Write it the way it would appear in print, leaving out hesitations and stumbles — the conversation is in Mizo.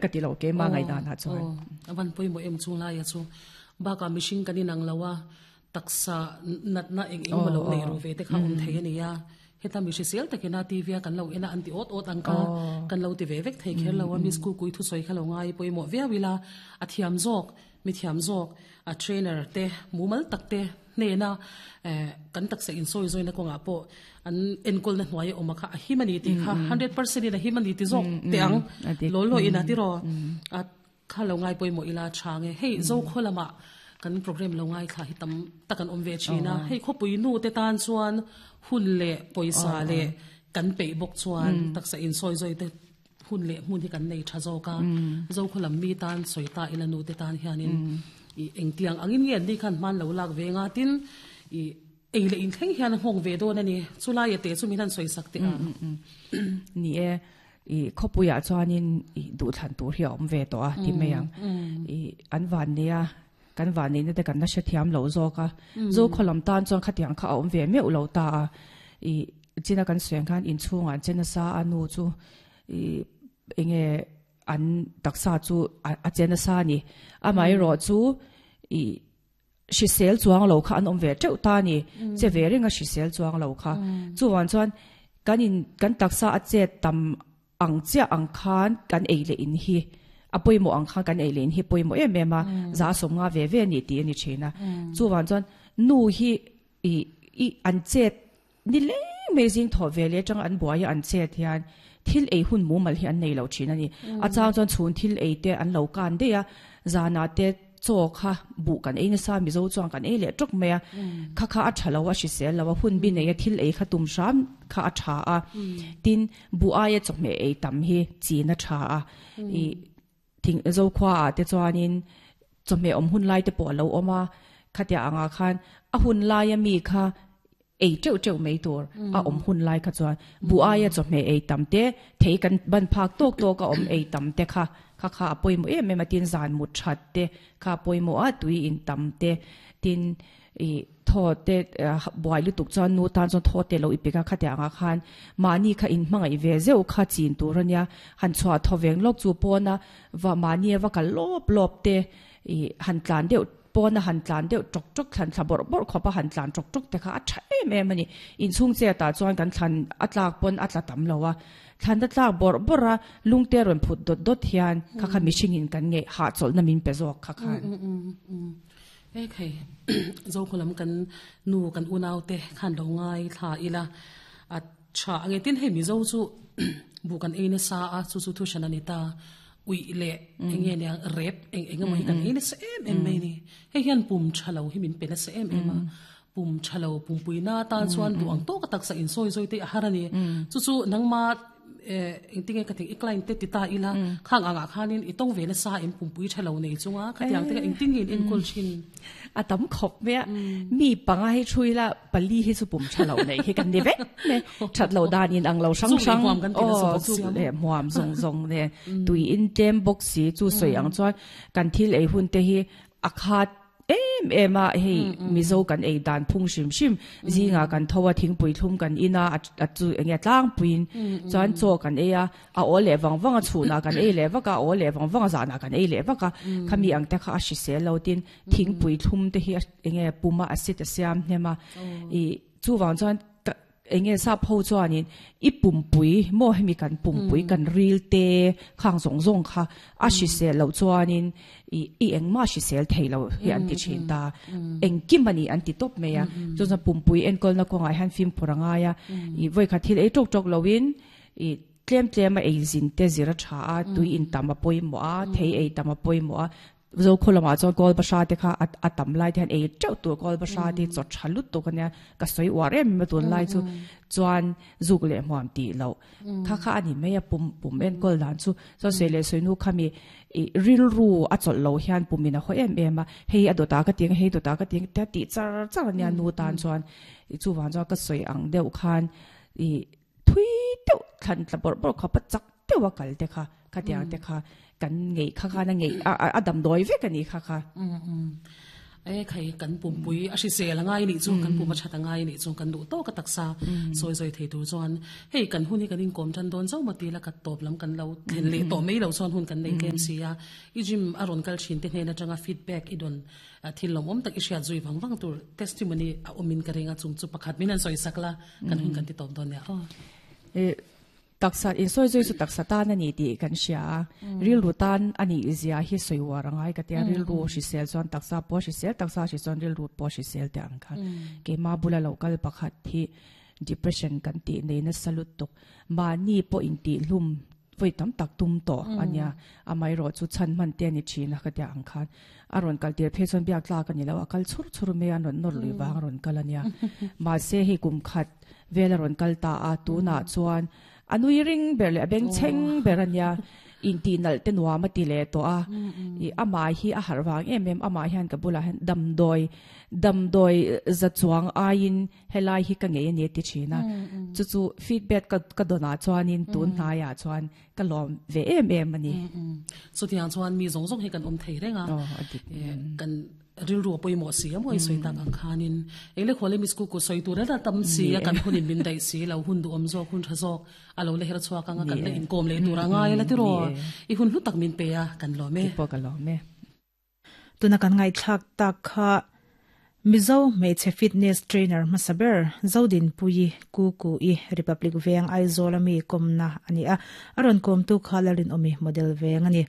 Ka ti lo keimah ngaihdan ah chuan. Aw, a van pawimawh em chung laia chu. Bakah mihring kan inang lo a, taksa natna eng eng maw lo neih ru ve te kha awm thei a nia. Heta mi hrisel takin a TV a kan lo en a an ti awt awt ang kha kan lo ti ve vek thei kher lo a, Miss Kukui thusawi kha lo ngai pawimawh viau ila a thiam zawk, mi thiam zawk, a trainer te mumal tak te hnena kan taksa insawi zawina kawngah pawh an enkawlna hnuai a awm a kha a him a ni tih kha 100% in a him a ni ti zawk teh ang law law in a ti raw a kha lo ngai pawimawh ila tha nge hei zokhaw lamah kan program lo ngai thla hi tam tak an awm ve thin a hei khawpui nu te tan chuan hun leh pawisa leh kan peih bawk chuan taksa insawi zawi te hun leh hmun hi kan nei tha zawk a, Zokhaw lam mi tan sawi ta ila nu te tan hianin i engtiang angin nge an ni khan hman lo lak ve nga tin i ei leh inthleng hian a nghawng ve dawn a ni. Chulai a te chu min han sawi sak teh a. Ni e, i khawpuiah chuanin i duhthlan tur hi a awm ve tawh a ti mai ang. I an van nei a, kan van neihna te kan la hrethiam lo zawk a. Zokhaw lam tan chuan khatiang kha a awm ve meuh lo ta a. I China kan sawi ang khan inchhungah an che nasa a nu chu ih enge an taksa chu a che nasa a ni. Amaherawh chu ih hrisel chuang lo kha an awm ve teuh ta a ni. Che ve reng a hrisel chuang lo kha. Chuvang chuan kan in kan taksa a chet tam ang chiah ang khan kan ei leh in hi a pawimawh ang khan kan ei leh in hi pawimawh em em a za sawmnga ve ve a ni tih a ni thin a. Chuvang chuan nu hi ih ih an chet Ni leng mai zing thawh ve leh atanga an buai a an chet hian thil ei hun mumal hi an nei lo thin a ni. A chang chuan chhun thil ei te an lo kan daih a, zanah te chaw kha buh kan ei nasa Mizo chuan kan ei leh tawk mai a, kha kha a tha lo a hrisel lo a, hun bi nei a thil ei kha tum hram kha a tha a, tin buh aia chawhmeh ei tam hi chin a tha a, ih Thing Zokhua ah te chuanin chawhmeh awm hun lai te pawh a lo awm a, khatia angah khan a hun laia mi kha ei teuh teuh mai tur a awm hun lai kha chuan buh aia chawhmeh ei tam te, thei kan ban phak tawk tawk a awm ei tam te kha kha kha a pawimawh em em a, tin zan mut that te kha a pawimawh a, tui in tam te, tin Ih thaw te buai lutuk chuan nu tan chuan thaw te lo i pek a, khatiang ah khan mahni kha in hmangaih ve zeuh kha chin tur a nia, han chhuah thaw veng lawk chu pawna va mahni a va kal lawp lawp te ih han tlan deuh pawna han tlan deuh tawk tawk thlan thla bawrh bawrh khawpa han tlan tawk tawk te kha a tha em em a ni. Inchhung chet ah chuan kan thlan a tlak pawn a tla tam lo a, thlan a tlak bawrh bawrh a lungte rawn phut dawt dawt hian kha kha mihring in kan ngeih hahchawlhna min pe zawk kha khan. Hei khai Zokhaw lam kan nu kan unau te khan lo ngai thla ila a tha ange tin hei Mizo chu buh kan ei nasa a chu chu thu hran a ni ta uih leh eng nge nia rep eng eng emaw hi kan ei nasa em em mai a ni hei hian pum tha lo hi min pe nasa em em a pum tha lo pumpui na tan chuan duh ang tawk a taksa insawi zawi te a har a ni chu chu nangma Engtinge ka thing i client te ti ta ila khang angah khanin i tawng ve nasa em pumpui tha lo nei chunga khatiang te kha engtin nge in enkawl thin? A tam khawp mai a, mi panga hi thu ila pali hi chu pum tha lo nei hi kan ni vek mai, that lo dan in ang lo hrang hrang aw chu leh hmuam zawng zawng nen tui in tlem bawk si chu sawi ang chuan kan thil ei hun te hi a khat em em a hei Mizo kan ei dan phung hrim hrim zingah kan tho a thingpui thlum kan in a a chu enge tlangpuiin chuan chaw kan ei a a aw leh vang vang a chhunah kan ei leh vak a a aw leh vang vang a zanah kan ei leh vak a khami ang te kha a hrisel lo tin thingpui thlum te hi enge puma acid a siam hnem a ih chuvang chuan Eng nge sap ho chuanin i pumpui maw hemi kan pumpui kan ril te khang zawng zawng kha a hrisel loh chuanin i i engmah hrisel thei lo hi an ti thin ta. Engkim a ni an ti tawp mai a. Chu chuan pumpui enkawlna kawngah hian fimkhur a ngai a. I vawikhat thil ei tawk tawk loin i tlem tlem a ei zin te zir a tha a, tui in tam a pawimawh a, thei ei tam a pawimawh a. Zokhaw lamah chuan kawl bahra te kha a tam lai te hian ei teuh tur kawl bahra te hi chaw tha lutuk a nia ka sawi uar em em a tunlai chu chuan zuk leh hmuam tih loh kha kha a ni mai a pum pum enkawl dan chu chuan sawi leh sawi nu kha mi ih rilru a chawlh loh hian pum in a haw em em a hei a dawtah ka ti ang hei dawtah ka ti ang tia tih char char a nia nu tan chuan ih chuvang chuan ka sawi ang deuh khan ih thui deuh thlan tla bawrh bawrh khawp a chak deuh a kal te kha khatiang te kha kan ngeih kha khan a ngeih a damdawi vek a ni kha kha. E khai kan pumpui a hrisel a ngai nih chu kan pum a that a ngai nih chu kan duh tawk a taksa sawi zawi thei tur chuan hei kan hun hi kan inkawm tan dawn zauh maw tila ka tawp lam kan lo thlen leh tawh mai lo chuan hun kan nei tlem si a i gym a rawn kal thin te hnen atanga feedback i dawn thil lawmawm tak i hriat zui vang vang tur testimony a awmin ka ring a chung chu pakhat min han sawi sak la kan hun kan ti tawp dawn nia aw. Taksa insawi zui chu taksa tan a ni tih kan hria a, rilru tan a nih zia hi sawi uar a ngai ka tia, rilru hrisel chuan taksa pawh a hrisel, taksa hrisel chuan rilru pawh a hrisel teh ang kha. Keimah bula lo kal pakhat hi depression kan tih nei nasa lutuk, mahni pawh intihhlum vawi tam tak tum tawh a nia, amaherawh chu chhan hman te a ni thin a ka tia ang khan. A rawn kal tir phei chuan biak tlak a ni lo, a kal chhur chhur mai a, an rawn nawr lui vang a rawn kal a nia. Mahse hei kum khat vel a rawn kal ta a, tunah chuan a nui ring ber leh a bengchheng ber a nia, intih nalh te nuam a ti leh tawh a, ih amah hi a harh vang em em, amah hian ka bulah hian damdawi damdawi za chuang aiin helai hi ka ngei a ni a ti thin a, chu chu feedback ka ka dawnah chuanin tun hnaiah chuan ka lawm ve em em a ni. Chutiang chuan mi zawng zawng hi kan awm thei reng a, kan rilru a pawimawh si a maw i sawi tak ang khanin eng le khualem i school kut sawi tur reng a tam si a kan hunin min daih si lo hun duhawm zawk hun tha zawk a lo la her chhuak ang a kan la inkawm leh tur a ngai a la tiraw i hun hlu tak min pe a kan lawm e. Pawh ka lawm e. Tuna kan ngaihthlak tak kha Mizo hmeichhe fitness trainer hmasa ber Zodinpuii Kuku-i Republic Veng Aizawl ami kawmna a ni a, a rawn kawmtu kha Lalrinawmi model veng a ni.